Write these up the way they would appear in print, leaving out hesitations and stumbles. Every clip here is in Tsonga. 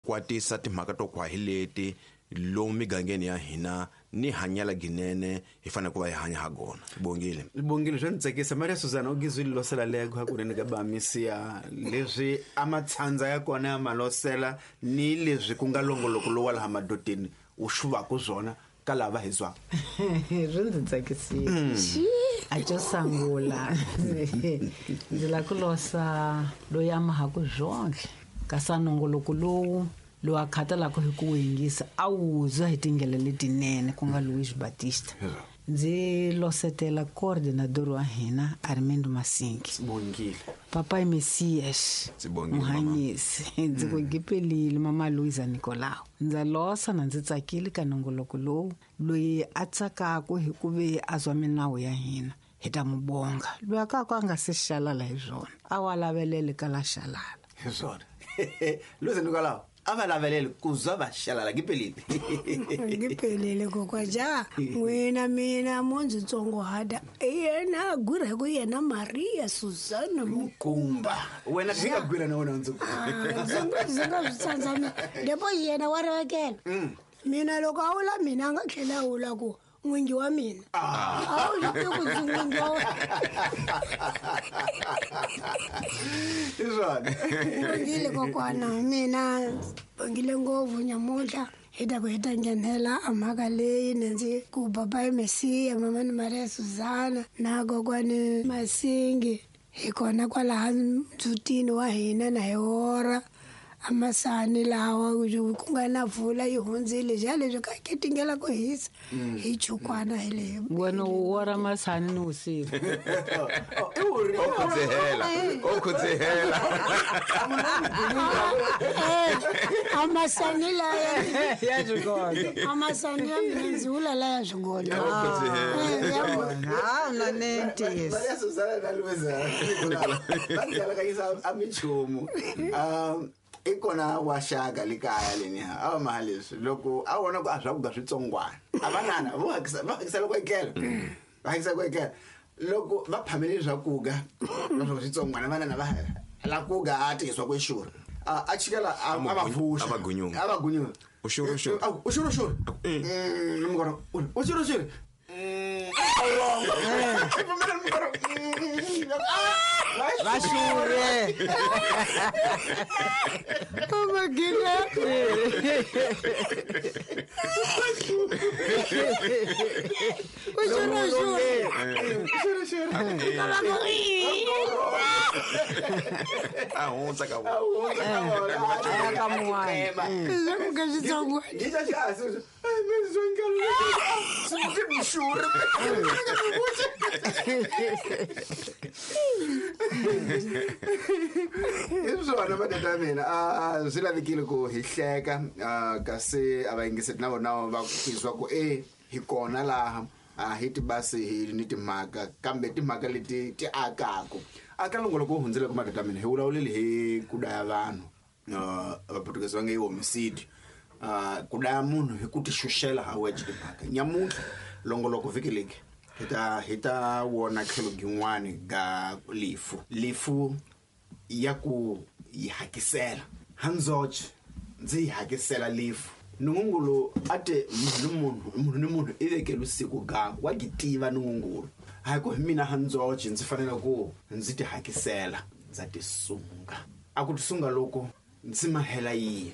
Kwatisa timhaka to kwa hi leti lomu migangeni ya hina ni hanyela ginene hi fanele ku va hi hanya ha gona. Bongile. Bongile swa ni tsakisa. Maria Susana u gizwile losela lego hakunene ka bamisiya leswi a matshandza ya kona ya malosela ni leswi ku nga longoloko lowa laha madodeni wu xuvaku swona ka lava hi zwaka. Swi ndzi tsakisile. A xo sungula ndzi lava ku losa loyi a mahaku zwonhle kasi a nongoloko lowu lowu a khatalaka hi ku wu yingisa a wu zwa hi tindlela letinene ku nga Luis Batista. Ndzi losetela coordinador wa hina Armando Masingi. Bongile. Papai Messias. Sibongile, mama. Muhanyisi. Ndzi ku gipelile mama Luisa Nicolau. Ndza losa na ndzi tsakile ka nongoloko lowu loyi a tsakaku hi ku ve a zwa minawu ya hina hi ta mu bonga. Loyi a ka ku a nga se xalala hi swona a wa lavelele ka la xalala. Hi swona. Luisa Nicolau a va lavelele ku zwa va xalala gipelile. Ngiphelile kokwa ja n'wina mina mo ndzi tsongohata yena gwira hi ku yena Maria Susana Mukumba. Wena hi nga gwira na wena ndzi ndzi nga swi tsandza mina depo yena wa rivekela mina loko a wula mina a nga tlhela a wula ku n'wingi wa mina a wu swi tivi ku ndzi n'wingi wa wena. Hi swona. Bongile kokwana mina bongile ngopfu nyamuntlha hi ta ku hi ta nghenela a mhaka leyi ni ndzi ku papai Mesiya mama ni Maria Susana na kokwani Masingi hi kona kwalaha ndzutini wa hina na hi wora a masani lawa ku nga na vula yi hundzile ja leswi ka ketingela ku hisa hi chukwana hi leyi. Wena u wora masani ni vusiku. O khudzehela, o khudzehela. A masani laya ya swigodo. A masani ya mina ndzi vula laya swigodo. O khudzehela. Ha na nentisi. Maria Susana na Luisa va ndzi alakanyisa a minchumu. I kona wa xaka le kaya leni a va maha leswi loko a vona ku a swakudya switsongwana a va nana vo hakisa va hakisela ku etlela va hakisa ku etlela loko va phamele swakudya va swa switsongwana va nana va la kuga a tirhisiwa ku exura a chikela a va pfuxa A va gunyunga. a va gunyunga. U xurhe, u xurhe. U xurhe, u xurhe. Mukoro, u xurhe, u xurhe. Va xurhe. Amagina. U xurhe, u xurhe. A hundza ka vona. A ya ka mun'wana. Leswaku ka xitsongwana. Hi swona matata ya mina a swi lavekile ku hi hleka kasi a va yingiseti na vona va tizwa ku e hi kona laha a hi tibasi hi ni timhaka kambe timhaka leti ti akaku aka longoloko wu hundzile ku matata ya mina hi vulavulile hi ku daya vanhu vaportuguese va nge i homicide ku daya munhu hi ku ti xuxela ha wexe timhaka nyamuntlha longoloko vhiki leki hi ta wona tlhelo gin'wani ga lifu lifu ya ku yi hakisela handzoxe ndzi yi hakisela lifu Nungungulu a te munhu ni munhu munhu ni munhu i vekele siku gaku wa gitiva Nungungulu hayi ku hi mina handzoxe ndzi fanele ku ndzi ti hakisela ndza tisunga a ku tisunga loko ndzi mahela yini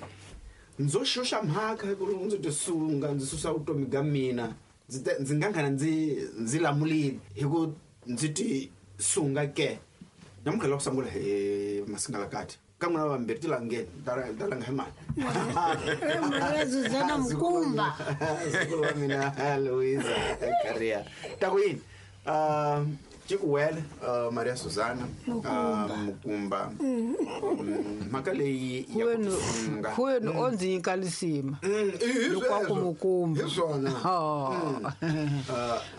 ndzo xuxa mhaka hi ku ndzi tisunga ndzi susa vutomi bya mina ndzi nga nghena ndzi lamulile hi ku ndzi tisunga ke namuntlha loko sungula hi masingalakati ka n'wina vambirhi ti langeni ta langa hi mali. Maria Susana Mukumba. Zukulu wa mina Luisa Caria. Ta ku yini? Cikuwele Maria Susana Mukumba. Mhaka leyi ya ku tisunga. Kwenu o ndzi nyika lisima. Loko a ku Mukumba. Hi swona.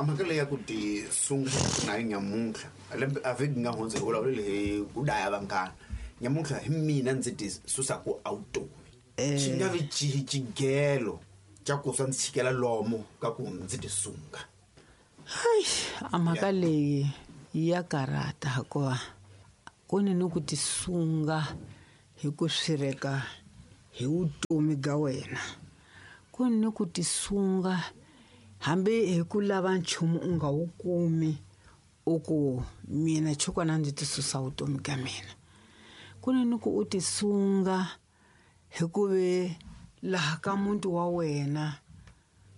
Mhaka leyi ya ku tisunga na yi nyamuntlha. Lembe a vhiki nga hundza hi vulavulile hi ku daya vanghana. Nyamuntlha hi mina ndzi ti susa ku awutomi. Xi nga vi xigelo xa ku swa ndzi chikela lomo ka ku ndzi tisunga. Hayi, a mhaka leyi ya karata hikuva ku ni ni ku tisunga hi ku swireka hi vutomi bya wena. Ku ni ku tisunga hambi hi ku lava nchumu u nga wu kumi, u ku mina chukwana ndzi tisusa vutomi ka mina. Ku ni ku u tisunga hi ku ve laha ka muti wa wena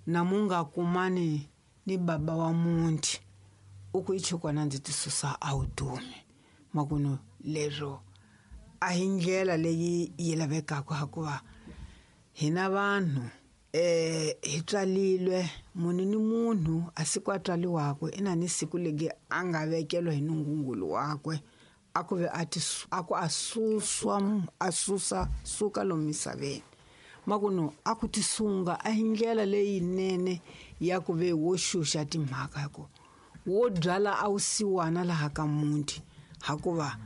na mu nga kumani ni baba wa muti, u ku i chukwana ndzi tisusa a vutomi. Makuno lero a hi ndlela leyi yi lavekaka, hikuva hina vanhu hi tswalilwe munhu ni munhu a siku a tswaliwako i na ni siku legi a nga vekeliwa hi nungungulu wakwe, a ku ve a ku a suswa a susa suka lomu misaveni. Makuno a ku tisunga a hi ndlela leyinene ya ku ve wo xuxa timhaka, hi ku wo byala a wu siwana laha ka muti, hikuva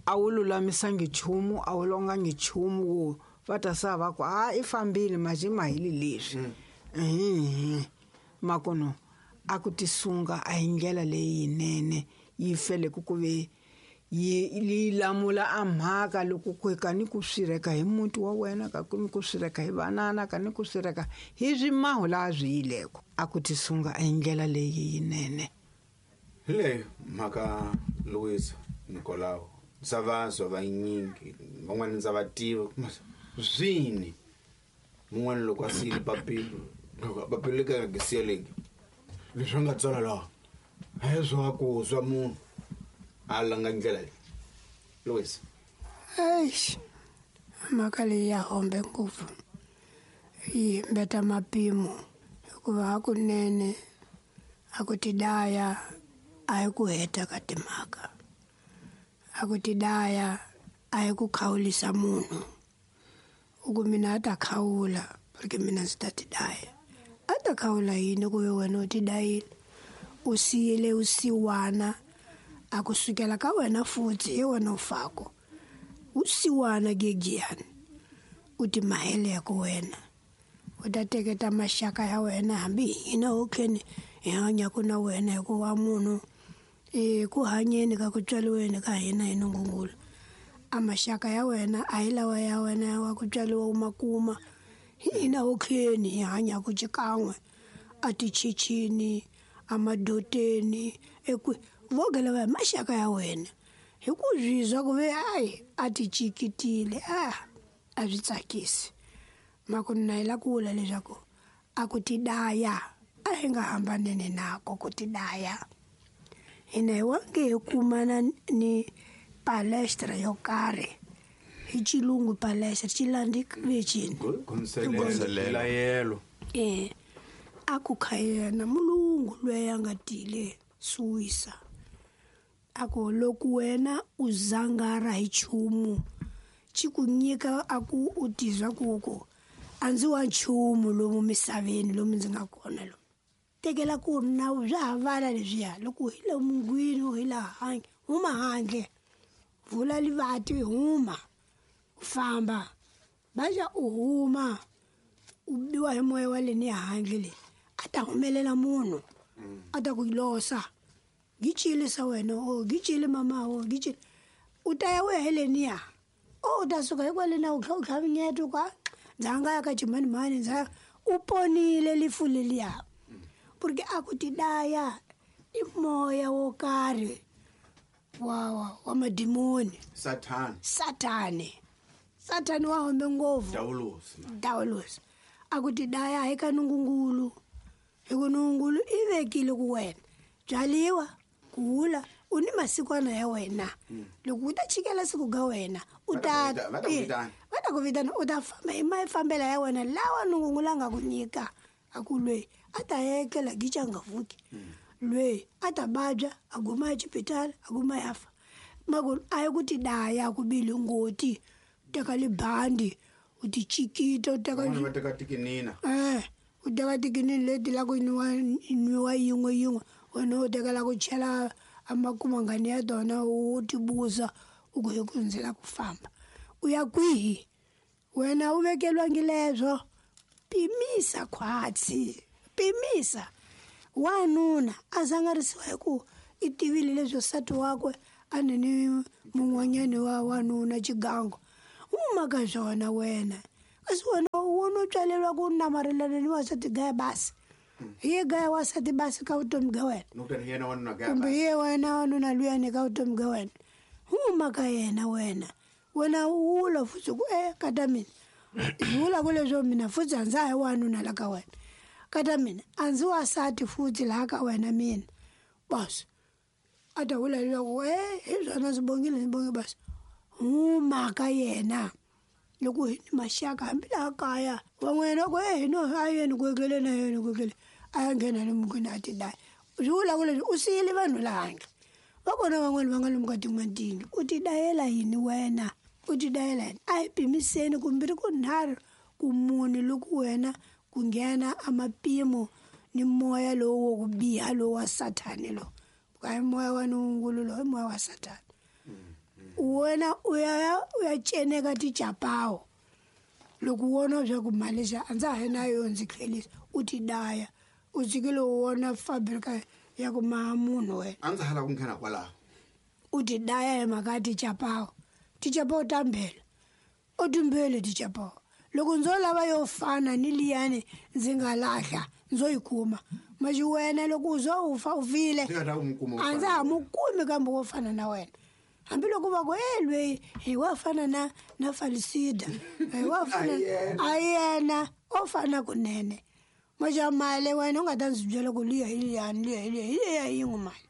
a wu lulamisangi nchumu, a wu longangi nchumu wo va ta sa va ku a i fambile maje ma hili leswi. Makuno a ku tisunga a hi ndlela leyinene yi feleke ku ve yi lamula a mhaka loko ku ka ni ku swireka hi muti wa wena, ka ku ni ku swireka hi vanana, ka ni ku swireka hi swimahu laha swi yileko. A ku tisunga a hi ndlela leyi yinene. Hi leyo mhaka Louis Nicolau, ndza vazwa vanyingi van'wana ndza va tiva zwini mun'wana loko a siyile papilo, loko papilo le ka nga siyeleki leswi nga tsala laha a hi swa ku swa munhu a langa ndlela leyi. Louis, eish, mhaka leyi ya hombe ngopfu, yi mbeta mapimo, hikuva hakunene a ku tidaya a hi ku heta ka timhaka, a ku tidaya a hi ku khawulisa munhu. U ku mina a ta khawula porque mina ndzi ta tidaya. A ta khawula yini ku ve wena u tidayile, u siyile u siwana, a ku sukela ka wena futhi hi wena u fako u siwana gegiyani, u timaheleko wena, u ta teketa maxaka ya wena hambi hina hokheni hi hanyaka na wena, hikuva munhu ku hanyeni ka ku tswaliweni ka hina hi nungungulu, a maxaka ya wena a hi lawa ya wena wa ku tswaliwa u ma kuma, hina hokheni hi hanyaka xikan'we a tichichini, a madoteni, ekwi voke lava hi maxaka ya wena. Hi ku zwizwa ku ve ayi a ti chikitile, a swi tsakisi. Makuno na hi la ku vula leswaku a ku tidaya a hi nga hambanene nako ku tidaya. Hina hi wange hi kumana ni palestra yo karhi, hi xilungu palestra xi landzi vecini layelo. A ku kha yena mulungu loyi a nga tile Suwisa, a ku loko wena u zangara hi nchumu xi ku nyika a ku u tizwa ku ku a ndzi wa nchumu lomu misaveni lomu ndzi nga kona lomu, tekela ku na bya ha vala leswiya, loko hi le mungwini hi la handle, huma handle, vula livati, huma u famba, baja u huma u biwa hi moya wa le ni handle le, a ta humelela munhu a ta ku losa, gichile sa wena, o gichile mama, o gichile, u ta ya u ya heleniya, o u ta suka hikwale na u tlhavinyeta u ka ndza nga ya ka chimanimani, ndza u ponile lifu leliya, porque a ku tidaya i moya wo karhi wa madimoni, Sathani wa hombe ngopfu, Dawulosi. A ku tidaya hi ka nungungulu, hi ku nungungulu i vekile ku wena byaliwa kula u ni masikwana ya wena, loko u ta chikela siku ga wena u ta va ta ku vitana, u ta famba hi mafambela ya wena lawa nungungulu a nga ku nyika. A ku lweyi a ta etlela gicha nga vuki, lweyi a ta vabya a guma exipitali a guma ya fa. Maku a yi ku tidaya ku bile ngoti, u teka libandi u ti chikita, u teka va teka tikinina, u teka tikinini leti la ku nwiwa yin'we yin'we, wena u tekela ku chela a makumangani ya tona, u tibuza u ku hi ku ndzi la ku famba u ya kwihi, wena u vekeliwangi leswo. Pimisa khwatsi, pimisa. Wanuna a zangarisiwa hi ku i tivile leswi nsati wakwe a ni ni mun'wanyani wa wanuna xigangu, huma ka swona wena. Kasi wena wo no tswaleriwa ku namarhelana ni wansati gaya basi. Hi ye gaya wansati basi ka vutomi bya wena. Kumbe hi ye wena wanuna luyani ka vutomi bya wena. Huma ka yena wena. Wena u wula futhi ku kata mina. Vula ku leswo mina futhi a ndza ha wanuna la ka wena. Kata mina a ndzi wasati futhi laha ka wena mina. Basi. A ta vula leswaku hi swona ndzi bongile ndzi bonge basi. Huma ka yena. Loko hi ni maxaka hambi laha kaya van'wana ku no a yeni ku etlele na yena ku etlele a ya nghena le mukweni a ti daya. Swi vula ku leswi u siyile vanhu laha handle. Va kona van'wani va nga lomu ka tin'wana tiyindlu. U ti dayela yini wena? U ti dayela yini? A hi pimiseni kumbirhi ku nharhu ku mune loko wena ku nghena a mapimo ni moya lowu wo ku biha lowu wa sathani lowu. A hi moya wa nungulu lowu, i moya wa sathani. Wena u ya ceneka ticapawu loko u vona swa ku mali xa a ndza ha ri na yo ndzi tlhelisa u ti daya u tshikile u vona fabrika ya ku maha munhu wena. A ndza ha lava ku nghena kwalaho. U ti daya hi mhaka ya ticapawu. Ticapawu ta mbhela u timbheli ticapawu. Loko ndzo lava yo fana ni liyani ndzi nga lahla ndzo yi kuma. Maxi wena loko u zo u fa u file a ndza ha mu kumi kambe wo fana na wena. Hambi loko va ku lweyi hi wa fana na Falisida hi wa fana a yena o fana kunene. Maxa mali wena u nga ta ndzi byela ku liya hi liyani liya hi liya hi liya yin'we mali.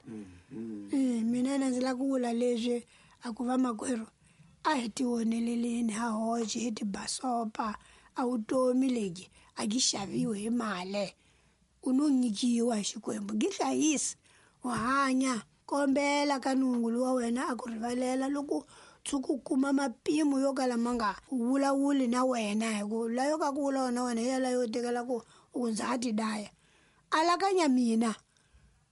Mina na ndzi lava ku vula leswi a ku va makwerhu a hi tioneleleni ha hoxe hi tibasopa a vutomi lebyi a byi xaviwi hi mali. U no nyikiwa hi Xikwembu byi hlayisi u hanya. Kombela ka nungulu wa wena a ku rivalela loko tshuka u kuma mapimo yo kala ma nga vulavuli na wena hi ku layo ka ku vulavula na wena hi yalayo tekela ku u ndza ha ti daya. Alakanya mina.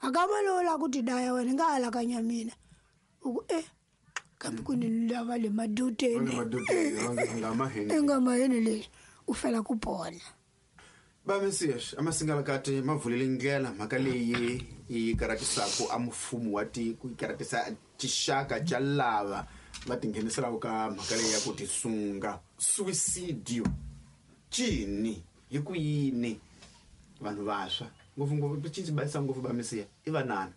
Akama lowu la ku ti daya wena nga alakanya mina. U ku kambe ku ni lava le maduteni. Nga maheni leswi u fela ku pona. Va Mesias a masingalakati ma vulele ndlela mhaka leyi yi karatisaka a mfumo wa tiko yi karatisa tixaka ca lava va tingheniselaka ka mhaka leyi ya ku tisunga. Suicidio cini hi ku yini vanhu vantshwa ngopfungopfu cinci bayisa ngopfu va Mesiya i vanana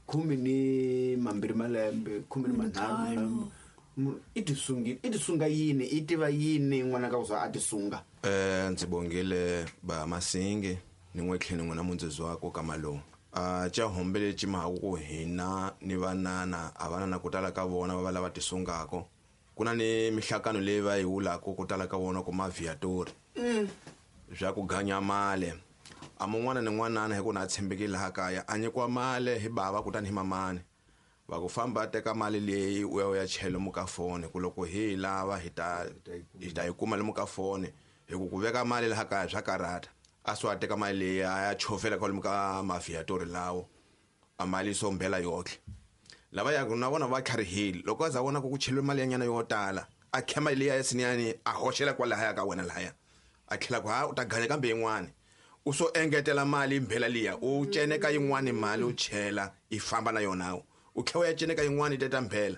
12 malembe 15 i tisungile i tisunga yini i tiva yini n'wana ka ku za a tisunga. Ndzi bongile ba Masinge ni n'we tlhelo n'wana mundzezi wako ka malomu. Ca hombele ci mahaku ku hina ni vanana a vanana ku tala ka vona va va lava tisungako. Ku na ni mihlakano leyi va yi vulaka ku tala ka vona ku maviatori. Bya ku ganya mali. A mun'wana ni n'wanana hi ku na tshembekile laha kaya a nyikiwa mali hi bava kutani hi mamani. Va ku famba teka mali leyi u ya u ya chela lomu ka foni ku loko hi lava hi ta yi kuma lomu ka foni hi ku ku veka mali laha kaya swa karata. A swi a teka mali leyi a ya chovela kwalomu ka maviatori lawo a mali so mbela yotlhe. Lava ya na vona va tlharihile loko a za vona ku ku cheliwe mali ya nyana yo tala a kha mali leyi ya siniyani a hoxela kwalahaya ka wena lahaya a tlhela ku ha u ta ganya kambe yin'wani. U so engetela mali mbela liya u ceneka yin'wani mali u chela i famba na yona. U tlhela u ya ceneka yin'wani teta mbela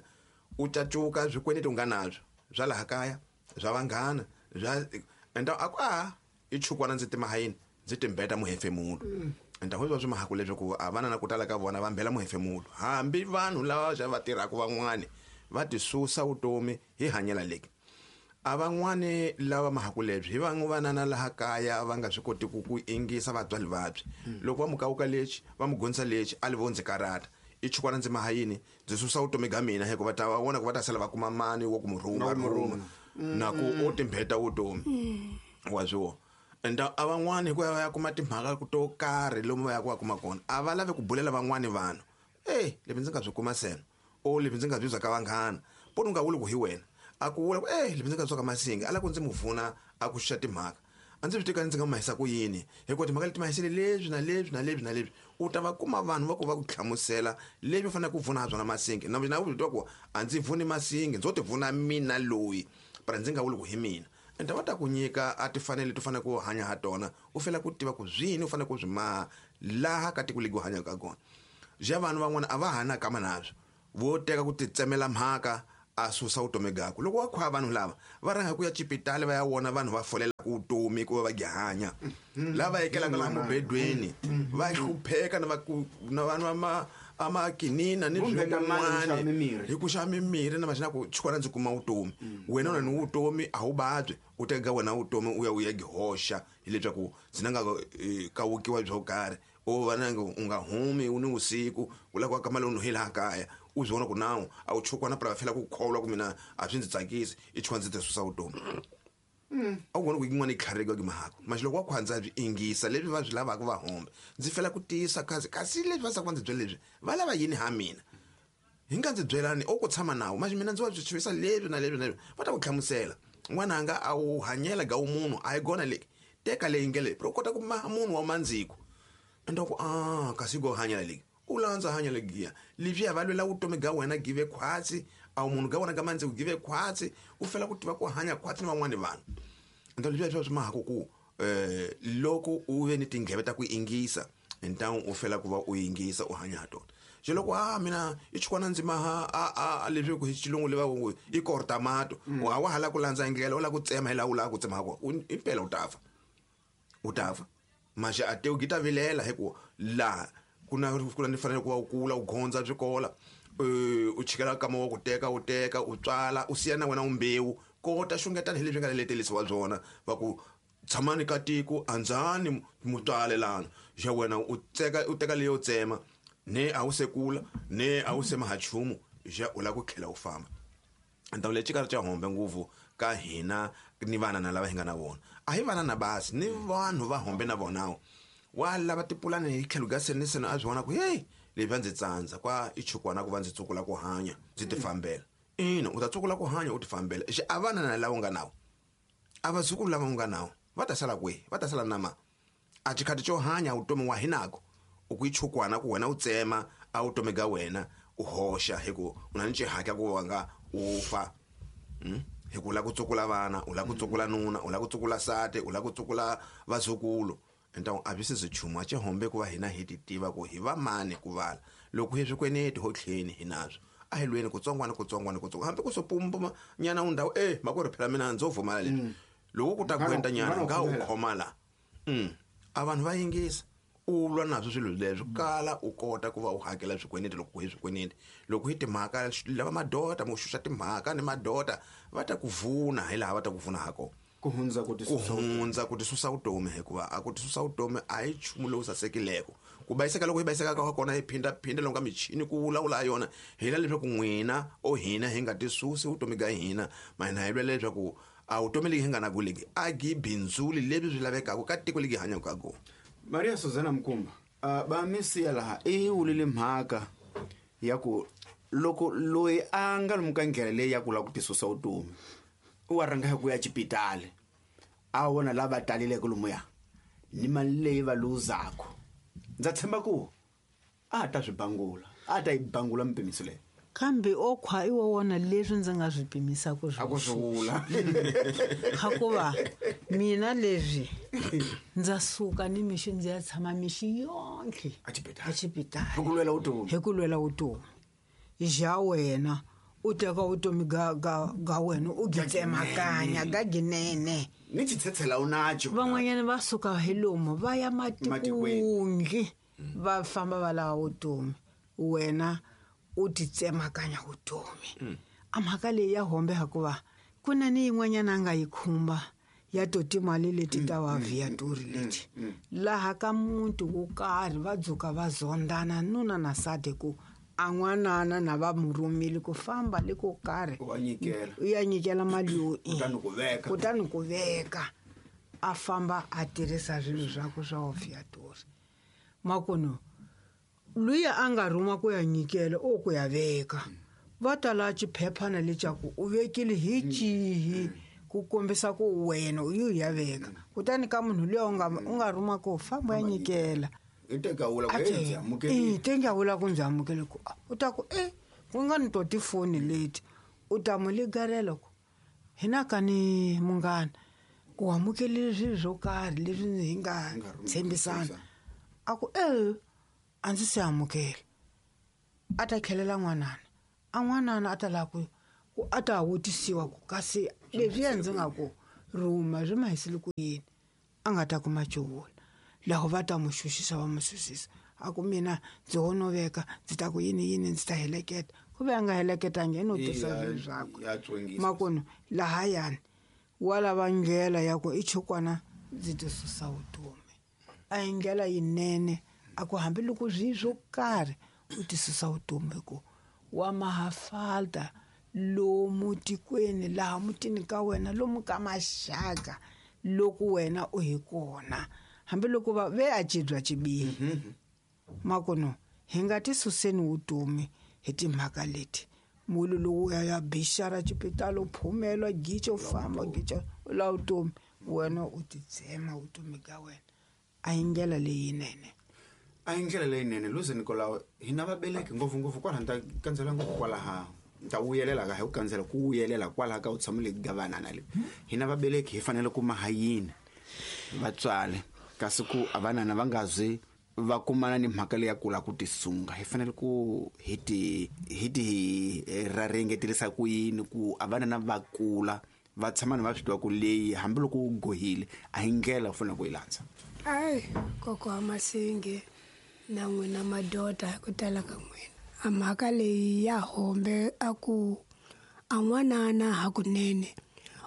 u cacuka swikweleti u nga nabyo swa laha kaya swa vanghana bya enda a ku a i chukwana ndzi tima hayini ndzi timbeta muhefemulo. Enda ho swa mahaku leswaku a vana na ku tala ka vona va mbela muhefemulo. Hambi vanhu lava va tirhaka van'wani va tisusa vutomi hi hanyela leki. A van'wani lava mahaku lebyi hi van'we vanana laha kaya va nga swi koti ku ingisa vatswari vabyi. Loko va mukawuka lexi va mu gonisa lexi a li vondzi karata. I chukwana ndzi mahayini ndzi susa vutomi bya mina hikuva ta va vona ku va ta sala va kuma mani wo ku murhuma na ku u timbeta vutomi wa swo. Enda a van'wani hi ku ya kuma timhaka to karhi lomu va ya ku va kuma kona a va lavi ku bulela van'wani vanhu. Leswi ndzi nga swi kuma sena o leswi ndzi nga byi bya ka vanghana poni u nga vuli ku hi wena a ku vula ku leswi ndzi nga byi ka Masinge a la ku ndzi mu vuna a ku xuxa timhaka a ndzi swi tika ndzi nga mahisa ku yini hikuva timhaka leti mahisele leswi na leswi na leswi na leswi u ta va kuma vanhu va ku va ku hlamusela leswi u faneleke ku vuna ha byona Masinge. Na mina u twa ku a ndzi vuni Masinge ndzo ti vuna mina loyi para ndzi nga vuli ku hi mina. Enda va ta ku nyika a tifanele to fanele ku hanya ha tona u fela ku tiva ku zwini u fanele ku swi maha laha ka tiko legi u hanyaka kona. Ja vanhu van'wana a va ha na kama nabyo vo teka ku titsemela mhaka a susa vutomi gakwe. Loko wa khwa vanhu lava va rhanga ku ya cipitali va ya vona vanhu va folelaka vutomi ku va va gihanya, lava ekelaka laha mubedweni va hlupheka na na vanhu va amakinina ni swin'wana hi ku xava mimirhi na maxina ku chikwana ndzi kuma vutomi. Wena u na ni vutomi a wu vabyi, u teka wena vutomi u ya u ya gihoxa hileswaku ndzi na nga kawukiwa byo karhi, u va na u nga humi u ni vusiku u lava ku aka mali u hi laha kaya u swi vona ku nawu a wu chukwana pra fela ku kholwa ku mina a swi ndzi tsakisi i chukwana ndzi ti susa vutomi. A wu vona ku yin'wana yi tlharika ki mahako maxi loko wa khwandza byi ingisa leswi va swi lavaka va hombe ndzi fela ku tiyisa kasi kasi leswi va saka ndzi byela leswi va lava yini ha mina hi nga ndzi byelani o ku tshama nawu maxi mina ndzi wa byi chavisa leswi na leswi na leswi va ta ku hlamusela n'wananga a wu hanyela ga munhu a yi gona leyi teka leyi nge leyi u kota ku maha munhu wa mandziko enda ku a kasi go hanyela leyi u landza hanya legiya leswiya va lwela vutomi ga wena give khwatsi a wu munhu ga wena ga mandziko give khwatsi u fela ku tiva ku hanya khwatsi ni van'wani vanhu. Enta leswiya swa swi mahako ku loko u ve ni tindleve ta ku ingisa ntangu u fela ku va u yingisa u hanya ha tona. Se loko a mina i chukwana ndzi maha a leswi ku hi xilungu leva ku i kortamato wa wa hala ku landza ndlela u lava ku tsema hi laha u lava ku tsema kona impela u ta fa u ta fa maxa a tewu gita vilela hi ku laha kuna kuna ni fanele ku va u kula u gondza swikola u chikela kama wa ku teka u teka u tswala u siya na wena umbewu kota xungetana hi leswi nga letelisiwa byona va ku tshamani ka tiko andzani mutswalelana xa wena u tseka u teka leyo tsema ne a wu sekula ne a wu sema ha chumu xa u lava ku tlhela u famba. Ndhawu leyi xikarhi xa hombe ngopfu ka hina ni vana na lava hi nga na vona a hi vana na basi ni vanhu va hombe na vonawo wa lava tipulani hi tlhelo ka seni seni a swi vona ku hey leyi va ndzi tsandza kwa i chukwana ku va ndzi tsukula ku hanya ndzi ti fambela. Ina u ta tsukula ku hanya u ti fambela xi a vana na lava u nga nawo a vazukulu lava u nga nawo va ta sala kwihi va ta sala na ma a xikhati xo hanya vutomi wa hinako u ku ichukwana ku wena u tsema a vutomi ga wena u hoxa hi ku u na ni xihatla ku wa nga u fa hi ku lava ku tsukula vana u lava ku tsukula nuna u lava ku tsukula sati u lava ku tsukula vazukulu. Ntangu a byi se chumu a xihombe ku va hina hi ti tiva ku hi va mani ku vala loko hi swikweneti ho tlheni hi nazwo a hi lweni kutsongwana kutsongwana kutsongo hambi ku sopumba nyana u ndhawu makwerhu phela mina ndzo vumala leswi loko ku ta kwenta nyana nga u khoma la a vanhu va yingisa u lwa nazwo swilo leswo kala u kota ku va u hakela swikweneti loko hi swikweneti loko hi timhaka lava madota mo xuxa timhaka ni madota va ta ku vuna hi laha va ta ku vuna ha kona ku hundza ku ti susa vutomi hikuva a ku ti susa vutomi a hi nchumu lowu sasekileko ku bayiseka loko hi bayiseka ka kona hi phindaphinda loko ka michini ku vulavula yona hi la leswaku n'wina o hina hi nga ti susi vutomi ga hina mahina hi lwela leswaku a vutomi legi hi nga na ku legi a gi bindzuli leswi swi lavekaka ka tiko legi hanyaka ka kona. Maria Suzana Mkumba va misiya laha i wulile mhaka ya ku loko loyi a nga lomu ka ndlela leyi ya ku lava ku ti susa vutomi u wa rhanga hi ku ya xipitali a vona lava taleleke lomuya ni mali leyi va luzaku ndza tshemba ku a ta swi bangula a ta yi bangula mipimiso leyi kambe o khwa i wa wona leswi ndzi nga swi pimisa ku a ku swi vula hikuva mina leswi ndza suka ni mixi ndzi ya tshama mixi yonkhe a xipitali hi ku lwela vutomi hi ku lwela vutomi ja wena u teka vutomi ga wena u byi tsemakanya ga ginene ni xitshetshela u nacho van'wanyana va suka hi lomu va ya matikweni va famba va lava vutomi wena u ti tsemakanya vutomi a mhaka leyi ya hombe hikuva ku na ni yin'wanyana a nga yi khumba ya to timali leti ta va viatori leti laha ka muti wo karhi va dzuka va zondana nuna na sati ku a n'wanana na va mu rhumile ku famba le ko karhi u ya nyikela mali yo kutani ku veka a famba a tirhisa swilo swakwe swa viatori makuno luya a nga rhuma ku ya nyikela o ku ya veka va tala xiphephana lexaku u vekile hi cihi ku kombisa ku wena u yi ya veka kutani ka munhu luya u nga rhuma ku famba ya nyikela i teka wula ku ndzi amukele ku u ta ku ku nga ni to tifoni leti u ta mu ligarela ku hina ka ni munghana u amukelile swilo swo karhi leswi hi nga tshembisana a ku a ndzi se amukela a ta tlhelela n'wanana a n'wanana a ta lava ku Ku a ta vutisiwa ku kasi leswiya ndzi nga ku rhuma swi mahisile ku yini, a nga ta kuma cuvula. Laho va ta mu xuxisa va mu susisa, a ku mina ndzi honoveka, ndzi ta ku yini yini, ndzi ta heleketa. Ku ve a nga heleketangi i no tisa swilo swakwe. Makunu lahayani wa lava ndlela ya ku i chukwana ndzi ti susa vutomi. A hi ndlela yinene, a ku hambiloko swi swo karhi u ti susa vutomi, hi ku wa mahafalta lomu tikweni laha mutini ka wena, lomu ka maxaka loko wena u hi kona, hambiloko va ve a cibya cibihi. Makuno hi nga ti suseni vutomi hi timhaka leti. Mulu lowu ya bixara xipitalo, phumela gicho famba gicho la vutomi, wena u ti tsema vutomi ka wena. A hi ndlela leyinene. A hi ndlela leyinene. Luze Nikolao, hina vaveleki ngopfungopfu kwalaha ni ta kandzela ngopfu kwalaha, ni ta vuyelela ka hi ku kandzela ku vuyelela kwalaha ka u tshamile gavanana le. Hina vaveleki hi fanele ku maha yini vatswari, kasi ku a vanana va nga zi va kumana ni mhaka leyi ya kula ku tisunga, hi fanele ku hi ti hi ti rarengetelisa ku yini ku a vanana va kula va tshama ni va swi tiva ku leyi hambiloko u gohile a hi ndlela u fanele ku yi landza. Ai kokwa wa Masingi na n'wina madoda hi ku tala ka n'wina, a mhaka leyi ya hombe a ku a n'wanana hakunene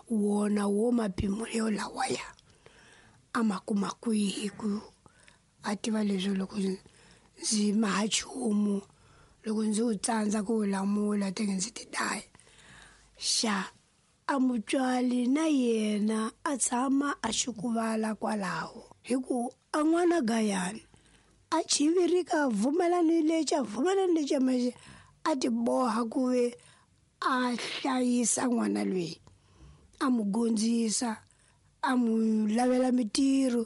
wona wo mapimo yo lawaya a ma kuma kwihi ku a tiva leswi loko ndzi maha nchumu, loko ndzi wu tsandza ku wu lamula teke ndzi ti daya. Xa a mutswali na yena a tshama a xukuvala kwalaho, hi ku a n'wana gayani a chivirika vumelani lexi a vumelani lexi maxi a ti boha ku ve a hlayisa n'wana loyi, a mu gondzisa, a mu lavela mitirho,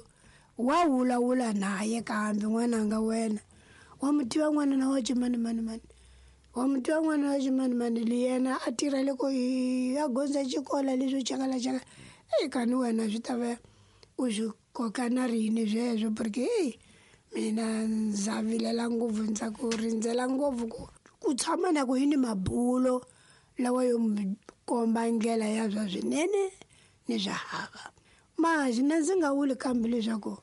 wa vulavula naye kambe n'wananga wena wa mu tiva n'wana na wa ximani mani mani, wa mu tiva n'wana wa ximani mani, li yena a tirha loko a gondza xikolo leswo chakala chakala. Eyi kani wena swi ta va u swi koka na rini sweswo, porque eyi mina ndza vilela ngopfu, ndza ku rindzela ngopfu ku tshama na ku yini mabulo lawa yo mi komba ndlela ya swa swinene ni swa hava. Mazi na ndzi nga vuli kambe leswaku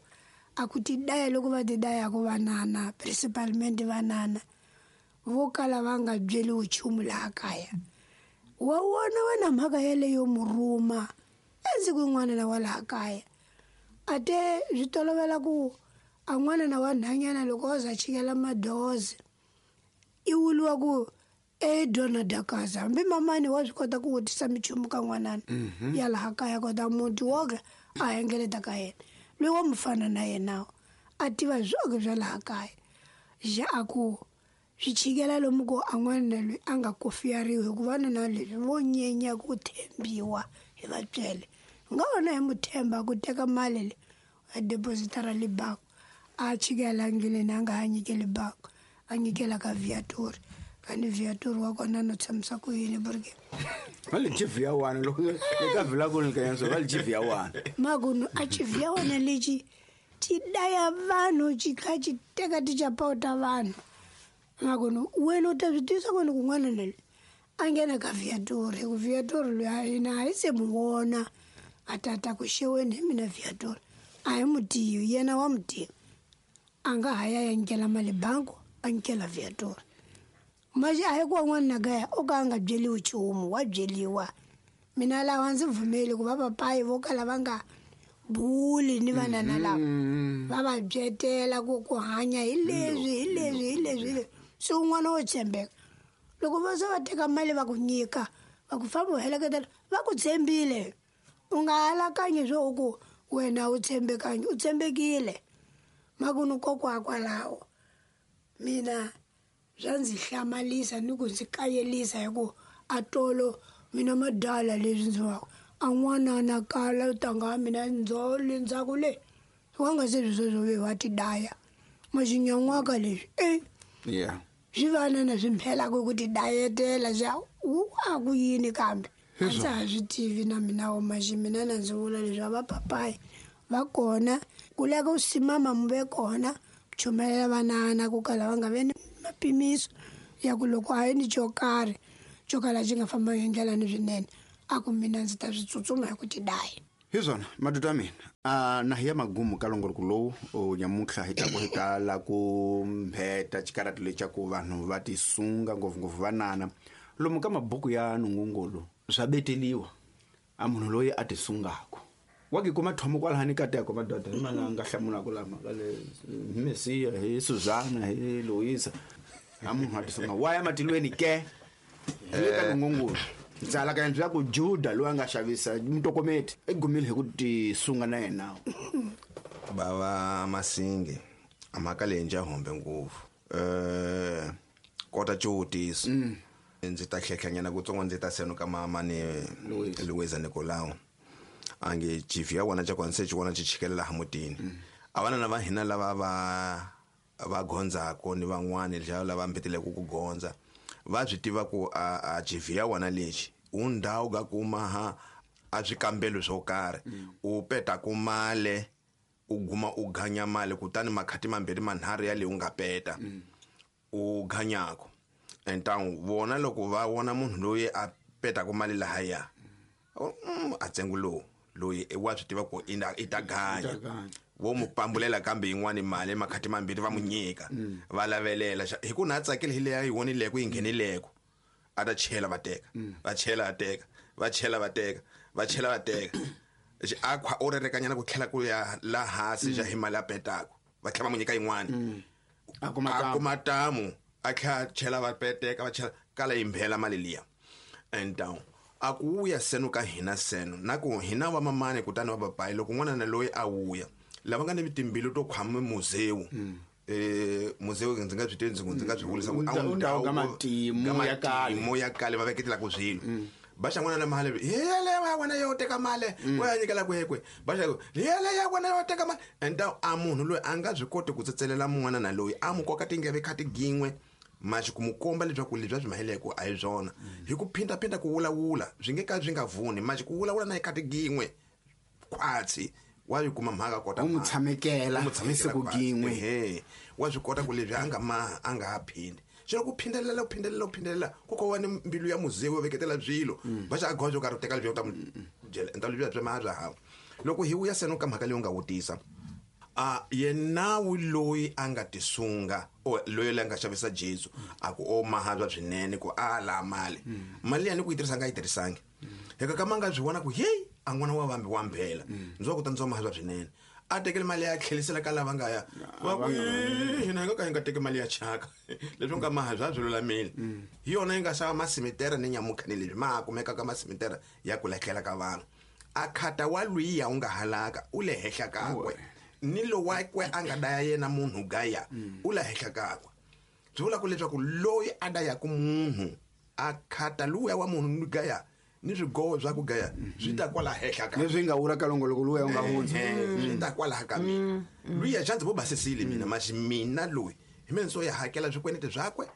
a ku ti daya loko va ti dayaka vanana, principalmente vanana vo kala va nga byeliwi nchumu laha kaya. Wa vona wena mhaka yeleyo murhuma endzhaku yin'wana na wa laha kaya, a te swi tolovela ku a n'wana na wa nhwanyana loko o za chikela madozi i vuliwa ku e dona dakaza, hambi mamani wa swi kota ku vutisa minchumu ka n'wanana ya laha kaya, kota muti woke a hengeleta ka yena loyi wa mufana na yena a tiva swoke swa laha kaya. Xa a ku swi chikela lomu ku a n'wana loyi a nga kofiyariwi, hikuva na leswi vo nyenya ku tshembiwa hi vatswele. Nga vona hi mu tshemba ku teka mali leyi a depositara le bangi, a chikela ndleleni a nga ha nyikeli bangi, a nyikela ka viatori. Kani viatori wa kona no tshamisa ku yini, porque va le chief ya wana loko eka vula ku ni ka yena va le chief ya wana makunu a chief ya wana lexi ti daya vanhu, xi kha xi teka tichapawu ta vanhu. Makunu wena u ta swi tisa kona kun'wana na le a nghena ka viatori, hi ku viatori loyi a hina a hi se mu vona a tata ku xeweni hi mina viatori a hi mu tivi, yena wa mu tiva, a nga ha ya ya nyikela mali bangi, a nyikela viatori. Maxi a hi ku wan'wana na kaya o ka a nga byeliwi nchumu, wa byeliwa. Mina lawa ndzi pfumeli ku va papayi vo kala va nga buli ni vanana lava va va byetela ku ku hanya hi leswi hi leswi hi leswi hi leswi. Se un'wana wo tshembeka loko va se va teka mali va ku nyika va ku famba u heleketela, va ku tshembile, u nga alakanyi swo ku wena u tshembekangi, u tshembekile. Makunu kokwa kwalaho mina swa ndzi hlamalisa ni ku ndzi kayelisa, hi ku a tolo mina madala leswi ndzi va a n'wana na kala tanga mina ndzo le ndzhaku le wa nga se sweswo ve wa ti daya maxinyangwaka leswi swi vanana swi mphelaka ku ti dayetela swa wu a ku yini kambe a ndza ha swi tivi na mina wo maxi mina na ndzi vula leswi va papayi va kona ku leka u simama mu ve kona chumelela vanana ku kala va nga ve ni mapimiso ya ku loko a yi ni xo karhi xo kala xi nga fambangi hi ndlela ni swinene a ku mina ndzi ta swi tsutsuma hi ku ti daya. Hi swona madoda ya mina, a na hi ya magumu ka longoloko lowu o nyamuntlha hi taku hi ta la ku mbheta xikarati lexi ku vanhu va tisunga ngopfungopfu vanana lomu ka mabuku ya nungungulu swa beteliwa a munhu loyi a tisungako wa ki kuma thomo kwalahani kateko madoda hi mana nga hlamulaka lama ka le hi Mesiya hi Suzana hi Luisa a munhu a tisunga wa ya matilweni ke hi le ka nungungulu ndzala ka endla ku Juda loyi a nga xavisa mutokometi i gumile hi ku tisunga na yena. Bava Masinge a mhaka leyi ndza hombe ngopfu kota xivutiso ndzi ta hlehlanyana kutsongo ndzi ta seno ka mama ni Luisa Nicolau ange chief ya wona xa se xi vona xi chikelela laha mutini a vana va hina lava va gondzako ni van'wani lava mbeteleke ku gondza va swi tiva ku a chief ya wona lexi u ndhawu ka kuma ha a swikambelo swo karhi u peta ku male u guma u ganya mali kutani makhati mambirhi manharhu ya leyi u nga peta u ganyako entangu vona loko va vona munhu loyi a petaka mali lahaya a tsengo lowu loyi wa swi tiva ku i ta ganya vo mu pambulela kambe yin'wani mali makhati mambirhi va mu nyika va lavelela hi ku na tsakile hi leya yi vonileko yi nghenileko a ta chela va teka va chela va teka va chela va teka va chela va teka a khwa o rerekanyana ku tlhela ku ya la hansi xa hi mali a petaka va tlhela va mu nyika yin'wani a kuma tamu a tlhela chela va peteka va chela kala yi mbhela mali liya and down a ku wuya seno ka hina seno na ku hina va mamani kutani va papayi loko n'wana na loyi a wuya lava nga ni timbilu to khwama muzewu muzewu ndzi nga swi tivi ndzi nga swi vulisa ku ndhawu ka matimu ya kale va veketelaka swilo ba xa n'wana na mali yele ya wena yo teka mali wa ya nyikela kwekwe ba xa yele ya wena yo teka mali and a munhu loyi a nga swi koti ku tsetselela mun'wana na loyi a mu koka tingeve kha tigin'we maxi ku mu komba leswaku leswi a swi maheleko a hi swona hi ku phindaphinda ku vulavula swi nge ka swi nga vuni maxi ku vulavula na hi kha tigin'we khwatsi wa yi kuma mhaka kota u mu tshamekela hi siku gin'we wa swi kota ku leswi a nga maha a nga ha phindi xilo ku phindelela ku phindelela ku phindelela ku ko va ni mbilu ya muzewu yo veketela swilo va xa a goza yo karhi u teka leswi u ta mu byela enta leswi swi maha swa hava loko hi vuya seno ka mhaka leyi u nga vutisa a yenawu loyi a nga tisunga o loyi la nga xavisa Jesu a ku o maha bya swinene ku a la mali mali ya ni ku yi tirhisa nga yi tirhisangi heka ka ma nga swi vona ku hey a n'wana wa vambi wa mbhela ndzi wa ku ta ndzi wa maha bya swinene a tekele mali ya tlhelisela ka lava nga ya va ku hina hi nga ka hi nga teki mali ya chaka leswi nga maha bya swi lulamile hi yona yi nga xava masimitera ni nyamukhani leswi ma kumeka ka masimitera ya ku lahlela ka vanhu a khata wa lwiya u nga halaka u le henhla kakwe ni lowakwe a nga daya yena munhu gaya u le henhla kakwe byi vula ku leswaku loyi a dayaku munhu a khata luya wa munhu gaya ni swigowo swa ku gaya swi ta kwala henhla ka leswi nga wula ka longoloko luya u nga hundza swi ta kwala ka mina luya xa ndzi vo basisile mina maxi mina loyi hi mina ndzo ya hakela swikwenete swakwe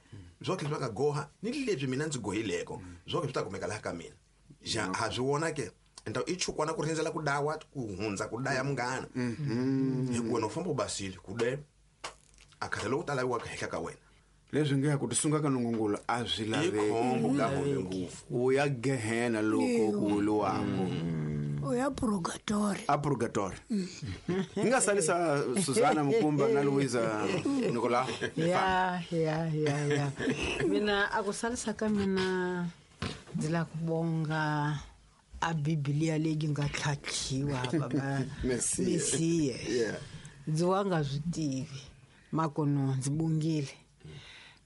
swoke swi va nga goha ni leswi mina ndzi gohileko swoke swi ta kumeka laha ka mina xa ha swi vona ke nta i chukwana ku rindzela ku dawa ku hundza ku daya munghana hi ku wena u famba u basile ku de a khata loku ta laviwaka henhla ka wena leswi nge ku tisunga ka nungungulu a swi laveki khombo ka hombe ngopfu u ya gehena loko ku wuluwako u ya purgatory a purgatory hi nga salisa Suzana Mukumba na Luisa Nicolau ya ya ya ya mina a ku salisa ka mina ndzi la ku bonga a Biblia leyi nga tlhatlhiwa baba Mesiya ndzi wa nga swi tivi makono ndzi bongile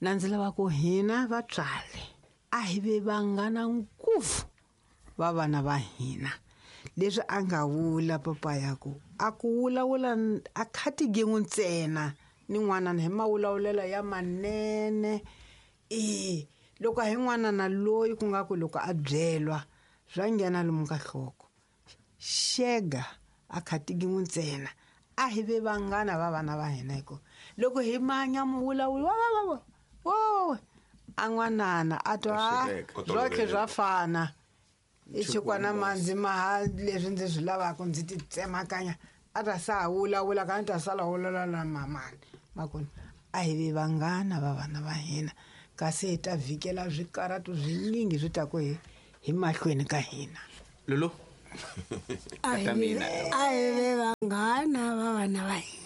na ndzi lava ku hina vatswari a hi ve vanghana ngopfu va vana va hina leswi a nga vula papa ya ku a ku vulavula a khati gin'we ntsena ni n'wana hi mawulavulelo ya manene e loko hi n'wana na loyi ku nga ku loko a byelwa swa nghena lomu ka nhloko xega a khati gin'we ntsena a hi ve vanghana va vana va hina hikuva loko hi manya muvulavuli wa wo a n'wanana a twa swotlhe swa fana i xikwana mandzi maha leswi ndzi swi lavaka ndzi ti tsemakanya a ta sa vulavula ka ni ta sala vulavula na mamani makona a hi ve vanghana va vana va hina Kasi hi ta vhikela swikaratu swinyingi swi taku hi mahlweni ka hina. Lulu. A hi Ta mina. A hi ve vanghana va vana va hina.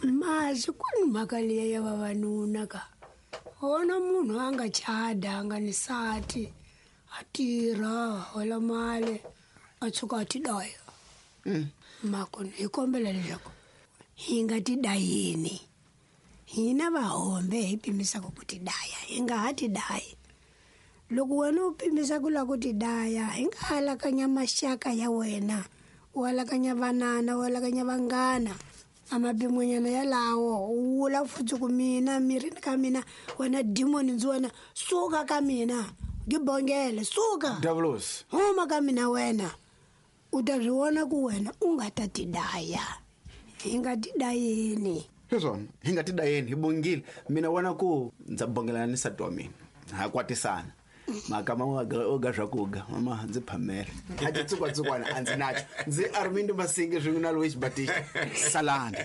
Masi ku ni mhaka liya ya vavanuna ka wona munhu a nga chada, a nga ni sati, a tirha, hola mali, a tshuka a ti daya. Makona hi kombela leswaku hi nga ti dayini. Hina vahombe hi pimisaka ku ti daya, hi nga ha ti dayi. Loko wena u pimisa ku lava ku ti daya, hi nga alakanya maxaka ya wena, u alakanya vanana, u alakanya vanghana. A mapimonyana yalawo u vula futhi ku mina mirini ka mina, wena demoni ndzi wena, suka ka mina, gibongele, suka. Davlos. Huma ka mina wena. U ta swi vona ku wena u nga ta ti daya. Hi nga ti dayeni. Hi swona, hi nga ti dayeni, hi bongile. Mina vona ku ndza bongelana ni nsati wa mina, ha kwatisana. Mhaka ma o ga swakuga mama ndzi phamela a titsukwatsukwana a ndzi nacho ndzi Armindo Masinge swin'we na Louis Batista salani.